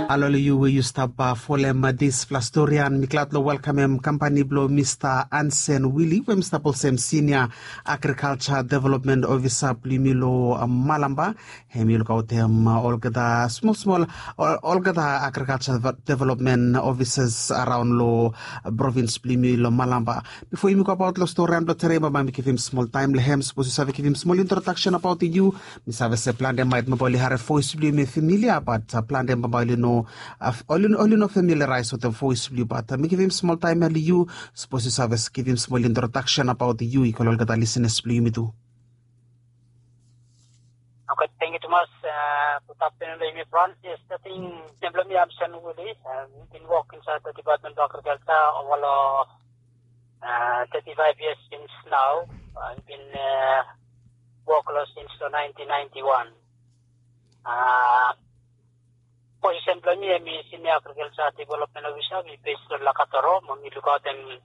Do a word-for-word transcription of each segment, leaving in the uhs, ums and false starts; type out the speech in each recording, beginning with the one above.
Halo long yu we yu stap folem disfala stori, and mi glad long welkamem kampani blong Mista Ansen Wili we mi stap olsem Sinia Agrikalsa Development Ofisa blong yumi long Malamba. Hem i lukaotem olgeta smol smol, olgeta agrikalsa development ofisas araon long provins blong yumi long Malamba. Bifo yumi go abaot long stori blong tede, bambae mi givim smol taem long hem. Sapos yu save givim smol introdaksen abaot yu. Mi save se plante maet bambae oli harem voes blong yu i familia, bat plante bambae oli no, oli no familiaraes wetem voes blong yu, bat mi givim smol taem ya long yu. Sapos yu save givim smol introdaksen abaot yu i go long olgeta lisenas blong yumi tu. Okay, thank you tumas. Good afternoon long yumi everyone. Yes, I think nem blong mi Ansen Wili. Mi bin wok insaed long Department blong Agrikalsa ova long thirty-five years since now. Mi bin wok long since long nineteen ninety-one. Posisen blong mi hem i Sinia Agrikalsa Development Ofisa. Mi bes long Lakatoro, mo mi lukaotem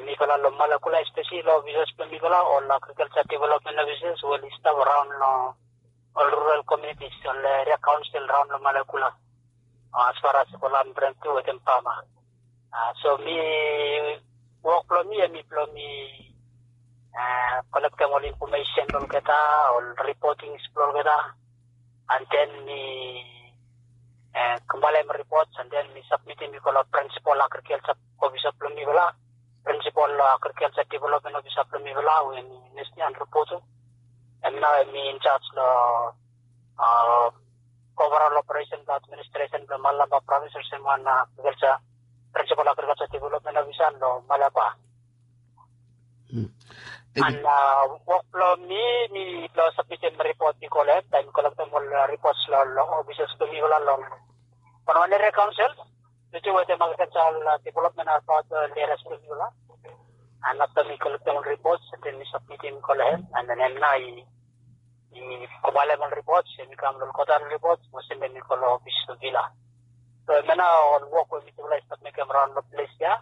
mifala long Malakula, espeseli long ofisas blong mifala, ol agrikalsa development ofisas we oli stap araon long ol rural komunitis, ol eria kaonsel araon long Malakula, as far as Kolam Brem tu wetem fama. So mi wok blong mi hem i blong mi kolektem ol infomesen blong olgeta, ol ripotings blong olgeta, and then mi kombaelem ripots, and then mi sabmitim i go long prinsipol agrikalsa ofisa blong mifala, prinsipol agrikalsa development ofisa blong mifala we hem i nesni and ripotu. Hem nao hem i injaj long overall operesen blong administresen blong Malamba provins olsem wan agrikalsa, prinsipol agrikalsa development ofisa long Malamba. And wok blong mi, mi long sabmitim ripot i go long hem, taem mi kolektem ol ripots long ofisas blong mifala long wanwan eria kaonsel, noting wetem agrikalsa development abaot eria blong mifala. And afta mi kolektem ol ripots, and then mi sabmitim i go long hem, and then hem nao i kombaelem ol ripots, hem i kam long kolektem ol ripots mo sendem i go long ofis long vila. So hemia nao ol wok we mifala i stap mekem araon long ples ya.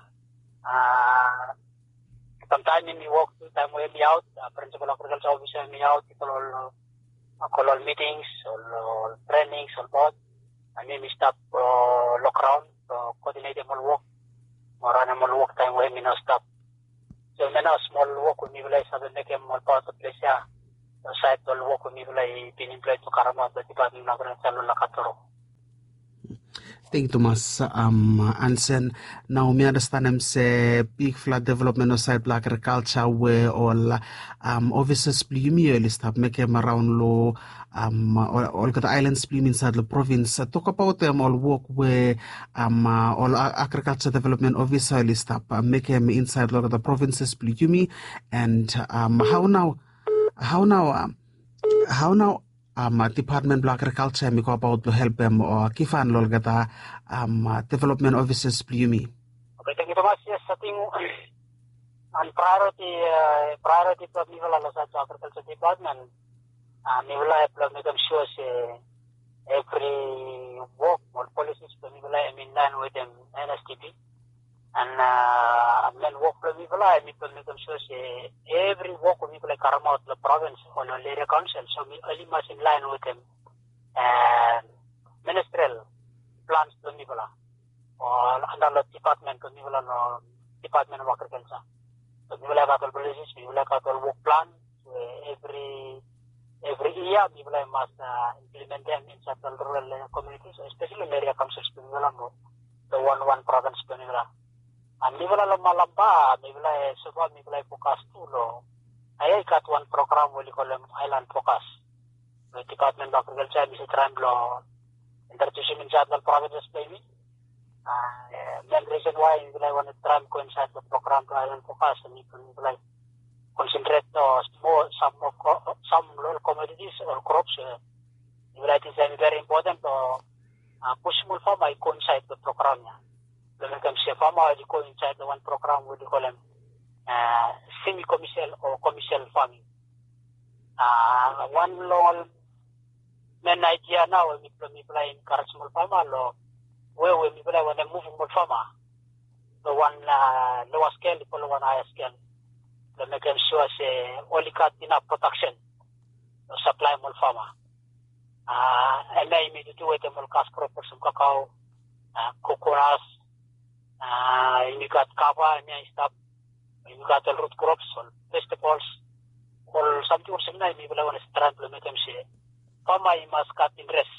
Samtaem mi wok tu taem we mi aot, prinsipol agrikalsa ofisa mi aot i go long ol mitings, ol trenings, ol bot, and mi mi stap long graon long koodinetem ol wok mo ranem ol wok taem we mi no stap. So hemia nao smol wok we mifala i save mekem ol paot long ples ya long saed ol wok we mifala i bin emploi blong karemaot long Department blong Agrikalsa long Lakatoro. Tangkiu tumas Ansen. Nao mi anastenem se bigfala developmen long saed blong agrikalsa we ol ofisas blong yumi oli stap mekem araon long olgeta aelans blong yumi insaed long provins. Tokbaot ol wok we ol agrikalsa developmen ofisa oli stap mekem insaed long olgeta provinses blong yumi, and hao nao, hao nao, hao nao dipatmen blong agrikalsa hem i go abaot blong helpem o givhan long olgeta developmen ofisas blong yumi? Okay, tangkiu tumas. Yes, ating wan praeoriti, praeoriti blong mifala long saed blong agrikalsa dipatmen, mifala i blong mekem sua se evri wok, ol polisis blong mifala hem inlaen wetem N S D P. And men wok blong mifala hem i blong mekem sua se evri wok we mifala i karemaot long provins o long eria kaonsel, so oli mas inlaen wetem ministrel plans blong mifala o anda long dipatmen blong mifala, long Dipatmen of Agrikalsa. So mifala i gat ol polisis, mifala i gat ol wok plan we evri, evri yia mifala i mas implimentem insaed long rural komunitis, espeseli long eria kaonsels blong mifala mo long wanwan provins blong mifala. And mifala long Malampa, mifala i, sofa mifala i fokas tu long, ae i gat wan program we oli kolem Aelan Fokas we Dipatmen blong Agrikalsa hem i save traem blong introdusim insaed long provinses blong yumi. Men risen wae mifala i wantem traem go insaed long program blong Aelan Fokas, hem i blong mifala i konsentret long smol, sam, sam long ol komoditis o krops we mifala i ting se hem i veri impoten blong pusum ol fama i go insaed long program ya, blong mekem se fama oli go insaed long wan program we oli kolem semi komesial o komesial faming. Wan long ol men aedia nao we mifala i enkarejem ol fama long we, we mifala i wantem muvum ol fama long wan loa skel i go long wan haea skel, blong mekem sua se oli gat inaf prodaksen long saplaem ol fama. Hemia yumi tu wetem ol kas krop olsem kakao, kokonas, yumi gat kava, hemia i stap, yumi gat ol rut krops, ol vegetables, ol samting olsem hemia yumi laik wantem traem blong mekem se fama i mas gat interes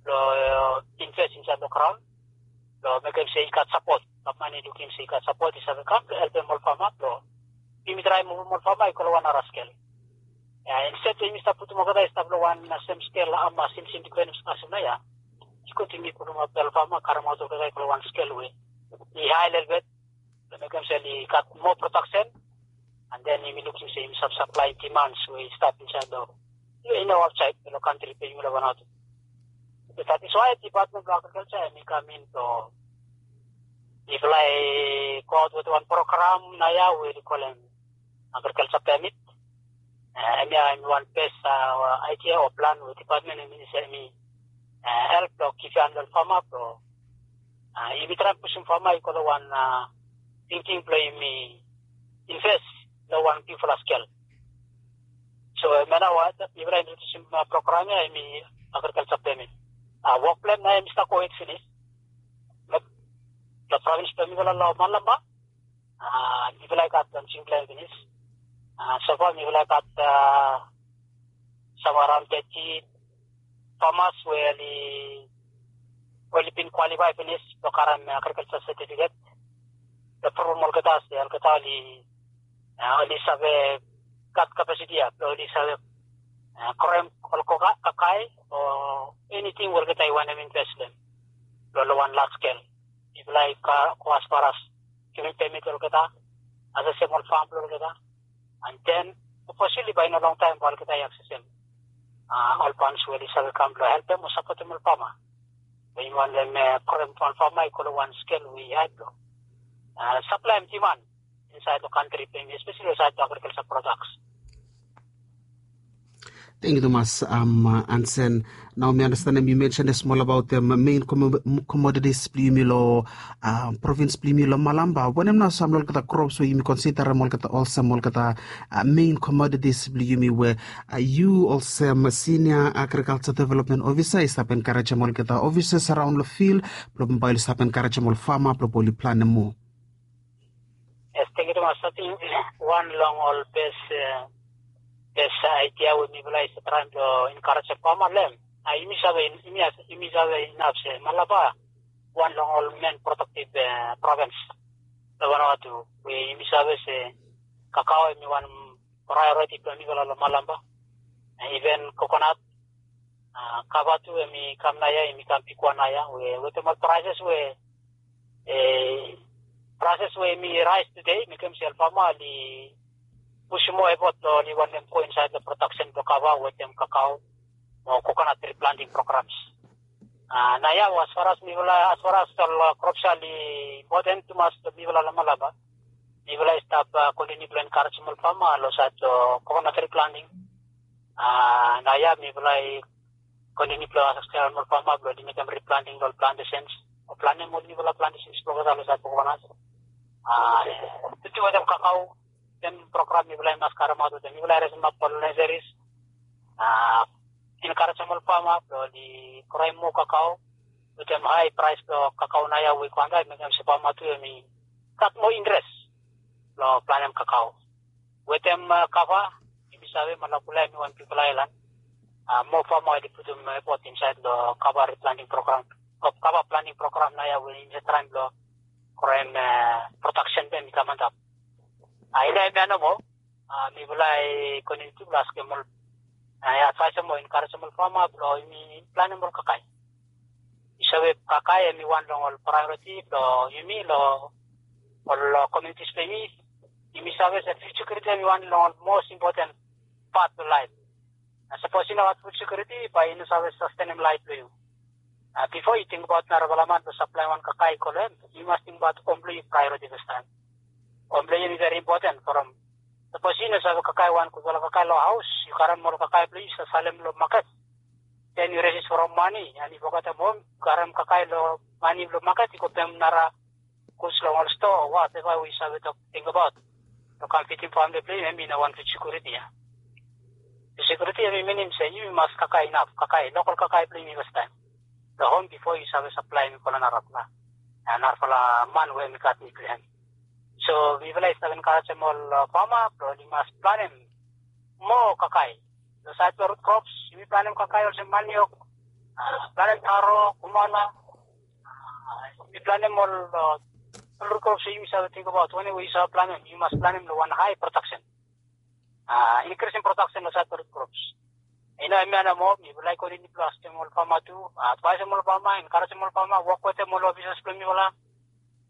blong invest insaed long graon blong mekem se i gat sapot. Gavman i lukim se i gat sapot i save kam blong helpem ol fama blong yumi traem muvum ol fama i go long wan nara skel. Insted blong yumi stap putum olgeta i stap long wan sem skel, ama simsim dipendens kasem nao ya. I gud yumi putum ol fama karemaot olgeta i go long wan skel we i hae lelebet blong mekem se oli gat moa prodaksen. And then yumi lukim se yumi save saplaem dimans we i stap insaed long, i no, aotsaed long kantri blong yumi long Vanuatu. That is why Department blong Agriculture hemi kam in blong mifala i go aot wetem wan program nao ya we oli kolem agriculture permit. Hemia hemi wan bes idea o plan we department hemi help blong givim long fama blong yumi traem pusum fama i go long wan tingting blong yumi invest long wan bigfala skel. So hemia nao mifala i introdusim program ya hemi agriculture permit. Wok blong hem nao hemi stap go hed finis. Long provins blong mifala long Malampa mifala i gat wan singpela hem finis. Sofa mifala i gat sam araon teti famas we oli, oli bin kwalifae finis blong karem agrikalsa setifiket blong pruvum olgeta se olgeta oli, oli save gat kapasiti ya blong oli save kroem ol kakae o eniting we olgeta i wantem invest long hem long wan las skel. Mifala i go asfaras givim pemit long olgeta, asesem ol fam blong olgeta. And then hopefully bae i no longtaem bae olgeta i aksesem ol fans we oli save kam blong helpem o sapotem ol fama. Bae yumi wantem kroem wan fama i go long wan skel we i hae blong saplaem diman insaed long kantri blong yumi, espeseli long saed blong agrikalsa prodaks. Tangkiu tumas. Ansen, nao mi anastenem yu mensenem smol abaot men komoditis blong yumi long provins blong yumi long Malampa. Wanem nao sam long olgeta krops we yumi konsiderem olgeta olsem olgeta men komoditis blong yumi we yu olsem sinia agrikalsa developmen ofisa i stap enkarejem olgeta ofisas araon long fil blong bae oli stap enkarejem ol fama blong bae oli planem moa? Yes, tangkiu tumas. Ating wan long ol bes, bes aidia we mifala i save traem blong enkarejem fama long hem. Yumi save, yumi save inaf se Malampa wan long ol men prodaktiv provins long Vanuatu we yumi save se kakao hemi wan praeoriti blong mifala long Malampa. Iven kokonat, kava tu hemi kam naoia, hemi kam bigwan naoia we wetem ol praeses we, praeses we hemi raes tude mekem se ol fama oli pusum moa efot blong oli wantem go insaed long prodaksen blong kava wetem kakao mo kokonat riplanting programs. Naoia asfaras mifala, asfaras ol krops ya oli impoten tumas long mifala long Malampa. Mifala i stap kontiniu blong enkarejem ol fama long saed long kokonat riplanting. Naoia mifala i kontiniu blong askem ol fama blong oli mekem riplanting long ol plantesens o planem ol niufala plantesens blong olgeta long saed blong kokonat. Tutu wetem kakao, wetem program mifala i mas karemaot wetem mifala i resemap ol nesesaris, enkarejem ol fama blong oli kroem moa kakao wetem hae praes blong kakao naoia we i go antap i mekem se fama tu hemi gat moa interes blong planem kakao. Wetem kava, yumi save Malakula hemi wan bigfala aelan. Moa fama oli putum efot insaed long kava riplanting program o kava planting program naoia we yumi save traem blong kroem prodaksen blong hem i kam antap. I no hemia nomo, mifala i kontiniu tu blong askem ol, advaesem o enkarejem ol fama blong yumi planem ol kakae. Yu save, kakae hemi wan long ol praeoriti blong yumi long ol komunitis blong yumi. Yumi save se fud sekiuriti hemi wan long ol mos impoten pat blong laef. Na sapos i no gat fud sekiuriti bae i no save sastenem laef blong yu. Bifo yu tingbaot narafala man blong saplaem wan kakae i go long hem, yu mas tingbaot hom blong yu praeoriti fastaem. Hom blong yu hemi veri impoten from sapos yu no save kakae wan gudfala kakae long haos, yu karem ol kakae blong yu yu save salem long maket. Then yu resis from mane and yu fogetem hom, yu karem kakae long mane blong maket i go pem nara guds long ol stoa o wateva we yu save tok tingbaot long kam fidim famle blong yu, hemi no wan fud sekiuriti ya. Sekuriti hemi minim se yumi mas kakae inap, kakae lokal kakae blong yumi fastaem long hom bifo yu save saplaem i go long narafala, narafala man we hemi gat nid blong hem. So mifala i stap enkarejem ol fama blong oli mas planem moa kakae. Long saed blong rut krops yumi planem kakae olsem maniok, planem taro, kumana. Yumi planem ol rut krops we yumi save tingbaot wanem we yu save planem, yu mas planem long wan hae prodaksen. Inkrisim prodaksen long saed blong rut krops. I no hemia nomo, mifala i kontiniu blong askem ol fama tu, advaesem ol fama, enkarejem ol fama, wok wetem ol ofisas blong mifala,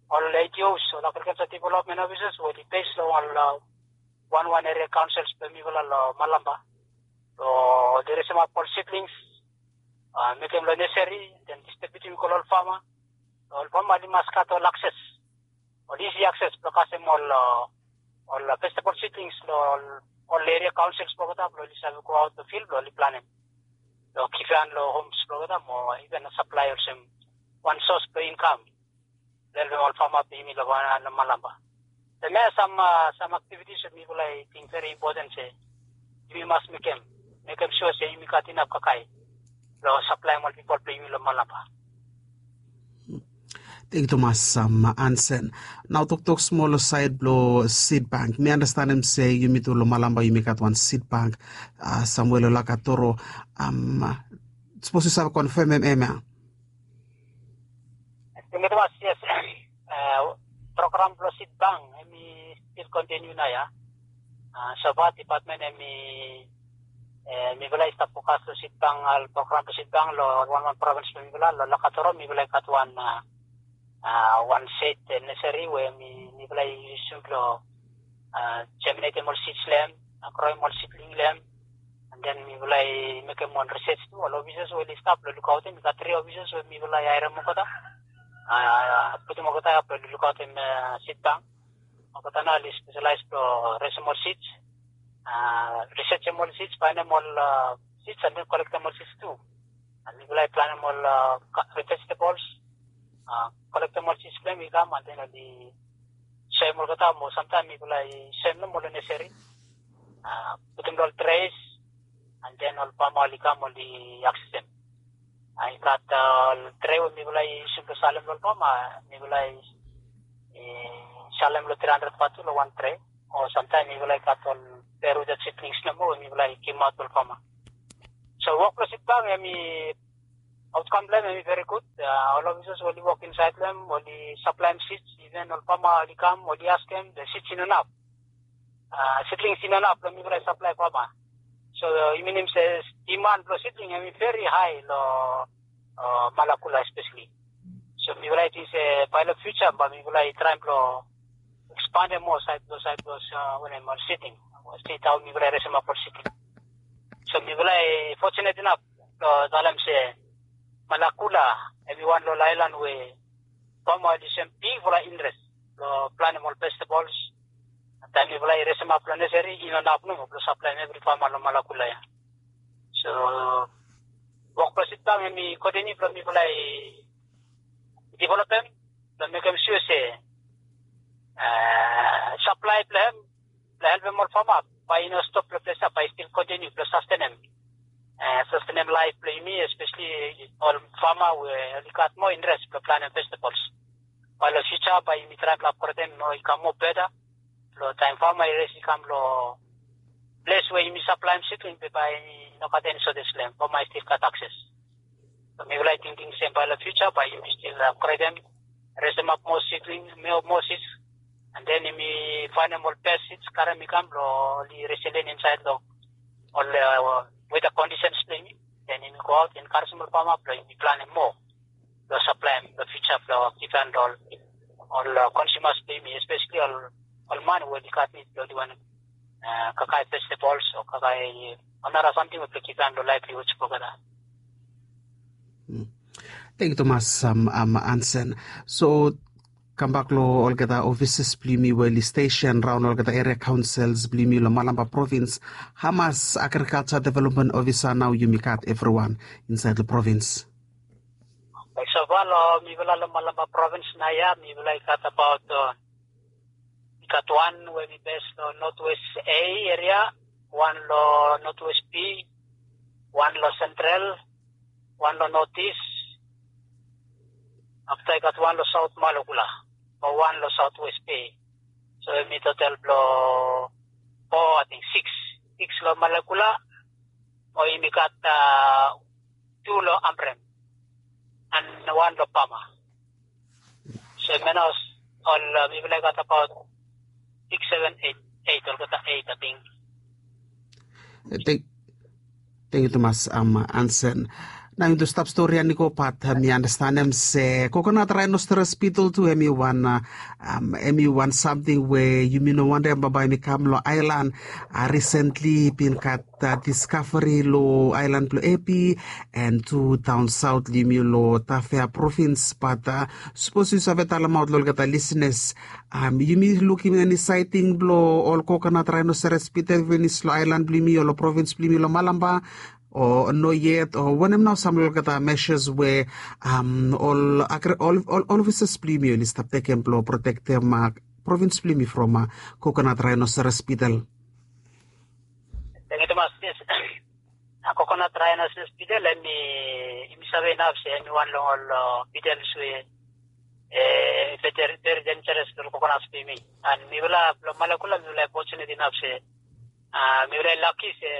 ol A D Os, ol agrikalsa developmen ofisas we oli bes long ol wanwan eria kaonsels blong mifala long Malampa. Blong oli resemap ol sidlings, mekem long neseri, den distribiutim i go long ol fama. Ol fama oli mas gat ol akses, ol isi akses blong kasem ol ol vegetable seedlings long ol eria kaonsels blong olgeta blong oli save go aot long fil blong oli planem long givhan long homs blong olgeta mo iven saplae olsem wan sos blong inkam long helpem ol fama blong yumi long Malampa. Hemia sam sam aktivitis we mifala i ting veri impoten se yumi mas mekem, mekem sua se yumi gat inap kakae blong saplaem ol pipol blong yumi long Malampa. Tangkiu tumas, Ansen. Nao toktok smol long saed blong sid bank. Mi anastenem se yumi tu long Malampa yumi gat wan sid bank. Samwe long Lakatoro. Sapos yu save konfemem hemia. Tangkiu tumas, yes. Program blong sid bank hemi stil kontiniu naoia. Sofa dipatmen hemi mifala i stap fokas long sid bank, ol program blong sid bank long wanwan provins blong mifala long Lakatoro mifala i gat wan wan sed neseri we mifala i yusum blong jeminetem ol sids long hem, groem ol sidling long hem. An den mifala i mekem wan risej tu, ol ofisas we oli stap long lukaotem, i gat tri ofisas we mifala i haerem olgeta, putum olgeta ya blong lukaotem sid bank. Olgeta nao oli speselaes blong resem ol sids, risejem ol sids, faenem ol sids an den kolektem ol sids tu. An mifala i planem ol vegetables, kolektem ol sids blong hem i kam an den oli soem olgeta mo samtaem mifala i soem nomo long neseri, putum long ol tres, an den ol fama oli kam oli aksesem. I gat ol tre we mifala i yusum blong salem long ol fama, mifala i salem long tri handred vatu long wan tre. O samtaem mifala i gat ol beruted sidlings nomo we mifala i givimaot long ol fama. So wok blong sid bank hemi, aotkam blong hem hemi veri gud. Ol ofisas we oli wok insaed long hem oli saplaem sids, iven ol fama oli kam oli askem, be sids i no inap, sidlings i no inap blong mifala i saplae fama. So i minim se diman blong sidling hemi veri hae long Malakula espeseli. So mifala i ting se bae long fiuja bae mifala i traem blong ekspandem moa saed blong, saed blong wanem, ol sidling, stet hao mifala i resemap ol sidling. So mifala i fojunet inap blong talem se Malakula hemi wan long ol aelan we fama oli yusum bigfala interes blong planem ol vegetables. Taem mifala i resemap long neseri i no inap nomo blong saplaem evri fama long Malakula ya. So wok blong sid bank hemi kontiniu blong mifala i developem blong mekem sua se saplae blong hem blong helpem ol fama bae i no stop long ples ya, bae i stil kontiniu blong sastenem, sastenem laef blong yumi, espeseli ol fama we oli gat moa interes blong planem vegetables. Bae long fiuja bae yumi traem blong apgredem mo i kam moa beta blong taem fama i res i kam long ples we yumi saplaem sidling be bae i no gat eni sotes long hem, fama i stil gat akses. So mifala i tingting se bae long fiuja bae yumi stil apgredem, resemap moa sidling, moa sids, an den yumi faenem ol bes sids, karem i kam blong oli reselen insaed long ol weta kondisens blong yumi. Den yumi goaot enkarejem ol fama blong yumi planem moa blong saplaem long fiuja blong givhan long ol konsumas blong yumi, espeseli ol man we oli gat nid blong oli wantem kakae vegetables o kakae ol nara samting we blong givhan long laevlihuds blong olgeta. Tangkiu tumas, Ansen. So kambak long olgeta ofisas blong yumi we oli stesen raon olgeta eria kaonsels blong yumi long Malampa provins, hamas agrikalja developmen ofisa nao yumi gat evriwan insaed long provins? Sofa long mifala long Malampa provins naoia mifala i gat abaot, i gat wan we hemi bes long Notwest A eria, wan long Northwest Bay, wan long Central, wan long Northeast, afta i gat wan long South Malakula, mo wan long Southwest Bay. So yumi total blong four, I think six, six long Malakula, mo yumi gat uh, two long Ambrym, and wan long Palmer. So yumi nao ol uh, mifala i gat about six, seven, eight, eight, olgeta eight, I think. Thank, thank you tumas, um, Anson. Nao yumi tu stap stori ya i go, bat uh, mi anastanem se coconut rhinoceros beetle tu hemi wan uh, um, hemi wan samting we yumi no wantem bambae hemi kam long aelan. Uh, recently bin gat uh, discovery long aelan blong Epi and tu daon saot long yumi long Tafea provins, bat uh, sapos yu save talemaot long olgeta lisenas, um, yumi lukim eni saiting blong ol coconut rhinoceros beetle finis long aelan blong yumi o long provins blong yumi long Malampa, o no yet, o wanem nao sam long olgeta measures we um, ol, agri, ol, ol, ol officers blong yumi oli stap tekem blong protektem uh, provins blong yumi from uh, coconut rhinoceros beetle? Thank you tumas. Yes. A coconut rhinoceros beetle, hemi, yumi save inaf se hemi wan long ol uh, beetles we eh, very, very dangerous long coconut blong yumi. And mifala blong Malakula, mifala i fortunate inaf se uh, mifala i lucky se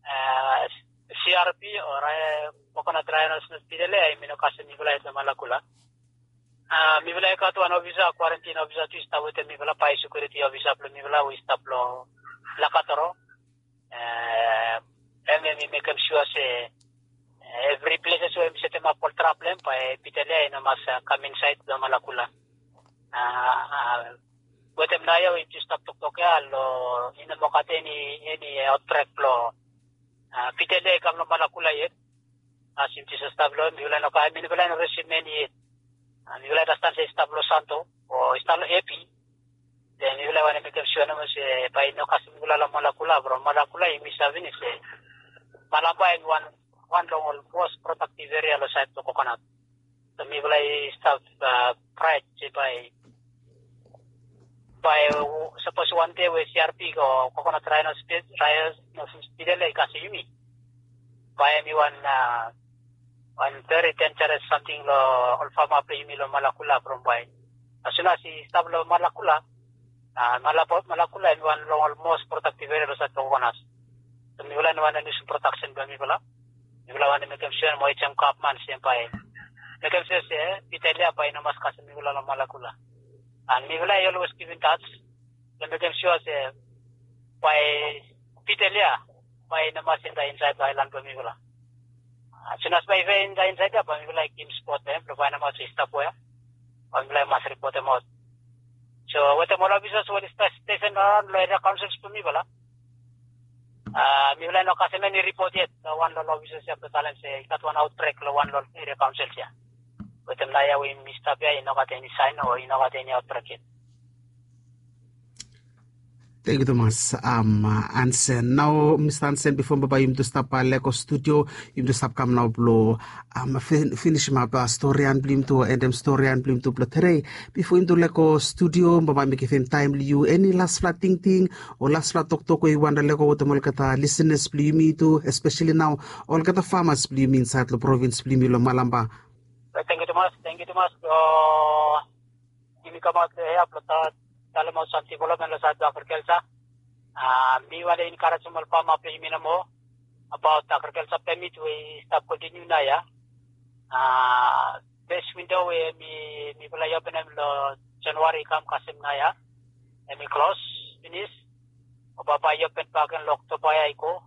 uh, C R B o uh, coconut rhinoceros beetle, hemi no kasem mifala yet long Malakula. Uh, mifala i gat wan ofisa, quarantine ofisa tu i stap wetem mifala, biosecurity ofisa blong mifala we i stap long Lakatoro. Uh, hemi, hemi mekem sua se uh, evri places we hemi setemap ol trap blong hem, bae beetle ya i no mas uh, kam insaed long Malakula. Uh, uh, wetem naoia we yumi tu stap toktok ya, long i no moa gat eni, eni outbreak blong uh, beetle ya i kam long Malakula yet. As yumi tu stap long, mifala i no gat, mifala i no risiv eni yet. Uh, mifala i anasten se i stap long Santo o i stap long Epi. Then mifala i wantem mekem sua nomo se bae i no kasem mifala long Malakula, from Malakula yumi save finis se Malampa hemi wan, wan long ol most productive area long saed blong coconut. So mifala i stap uh, pride se bae, bae uh, sapos wan dei we C R B o coconut rhino speed, rhino speed le i kasem yumi, bae hemi wan uh, wan very dangerous samting long ol fama blong yumi long Malakula, from bae as soon as i stap long Malakula, uh, Malakula hemi wan long ol most productive area long saed blong coconut. So mifala i no wantem lusim production blong mifala. Mifala wantem mekem sua mo urgem gavman se bae mekem sua se beetle ya bae i no mas kasem mifala long Malakula. And mifala i always keep in touch blong mekem sua se bae beetle ya bae i no mas intae insaed long aelan blong mifala. As soon as bae i intae insaed ya, bae mifala i givim ripot long hem blong faenem aot se i stap wea, bae mifala i mas ripotem aot. So wetem ol ofisas we oli stesen araon long eria kaonsels blong mifala, uh, mifala i no kasem eni ripot yet long wan long ol ofisas ya blong talem se i gat wan outbreak long wan long ol eria kaonsels ya. Wetem naoia we yumi stap ya, i no gat eni saen o i no gat eni outbreak yet. Thank you tumas, um, Anson. Nao Mista Anson, bifo bambae yumi tu stap uh, lego studio, yumi tu stap kam nao blong um, finisimap uh, storian blong yumi tu, endem storian blong yumi tu blong tede. Bifo yumi tu lego studio, bambae mi givim taem long yu eni laspela tingting o laspela toktok we yu wantem lego wetem olgeta lisenas blong yumi tu, espeseli nao olgeta famas blong yumi insaed long provins blong yumi long Malampa. Thank you tumas, thank you tumas. Uh, yumi kamaot long hia blong talemaot sam development long saed blong agriculture. Uh, mi wantem encouragem ol fama blong yumi nomo abaot agriculture permit we i stap kontiniu naoia. Uh, first window we mi, mifala i openem long January i kam kasem naoia, hemi klos finis. O bambae i open bakegen long Oktoba ya i go.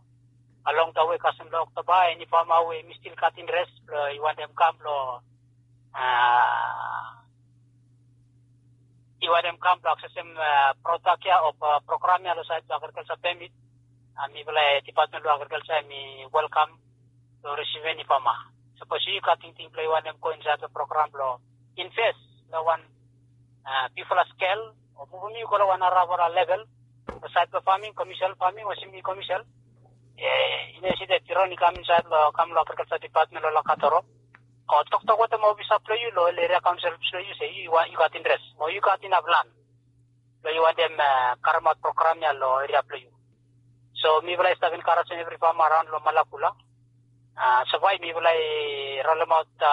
Along the way kasem long Oktoba, eni fama we hemi stil gat interes blong i wantem kam blong uh, i wantem kam blong aksesem uh, prodak ya o uh, program ya long saed blong agriculture permit, uh, mifala, uh, department blong agriculture hemi welkam long risivim eni fama. Sapos yu gat tingting blong i wantem go insaed long program blong invest long wan uh, bigfala skel o muvum yu go long wan narafala level long saed blong farming, commercial farming o semi commercial, uh, i no isi dat i ron i kam insaed long, kam long agriculture department long Lakatoro o toktok wetem ofisa blong yu long ol eria kaonsel blong yu se yu, yu gat interes o yu gat inaf lan blong yu wantem uh, karemaot program ya long eria blong yu. So mifala i stap encouragem evri fama araon long Malakula. Savae mifala i rolemaot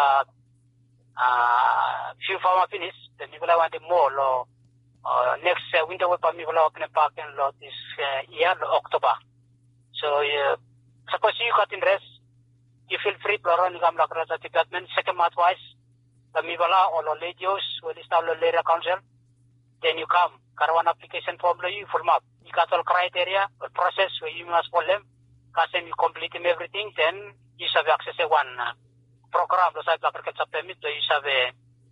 fiu fama finis, be mifala i wantaem moa long neks winta we bae mifala openem bak gen long dis yia long Oktoba. So sapos yu gat interes, yu fil fri blong ran i kam long agrikalsa depatmen sekem advaes long mifala o long ledios we oli stap long leria kaonsel. Den yu kam karem wan aplikesen fom blong yu, fulumap. I gat ol kraiteria, ol proses we yumi mas folem. Kasem yu komplitim evriting, den yu save aksesem wan program long saed blong agrikalsa pemit blong yu save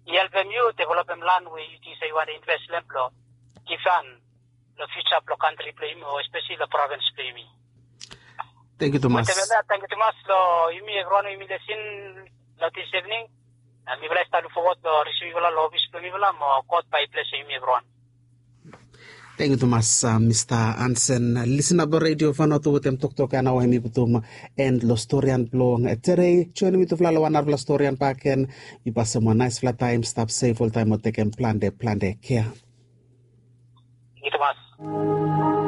i helpem yu developem lan we yu ting se yu wantaem invest long hem blong givhan long fiuja blong kantri blong yumi o espeseli long provins blong yumi. Tengkiu tumas. Tengkiu tumas long yumi evriwan we yumi lesin long dis evening. Mifala i stap luk fowod long risivim yufala long ofis blong mifala mo God bae i blesem yumi evriwan. Tengkiu tumas, Mista Ansen. Lisina blong redio Vanuatu wetem toktok ya nao hem i putum en long storian blong tedei. Joinim mitufala long wan narafala storian bakegen. Yu pasem wan naesfala taem, stap sef oltaem mo tekem plante plante kea. Tengkiu tumas.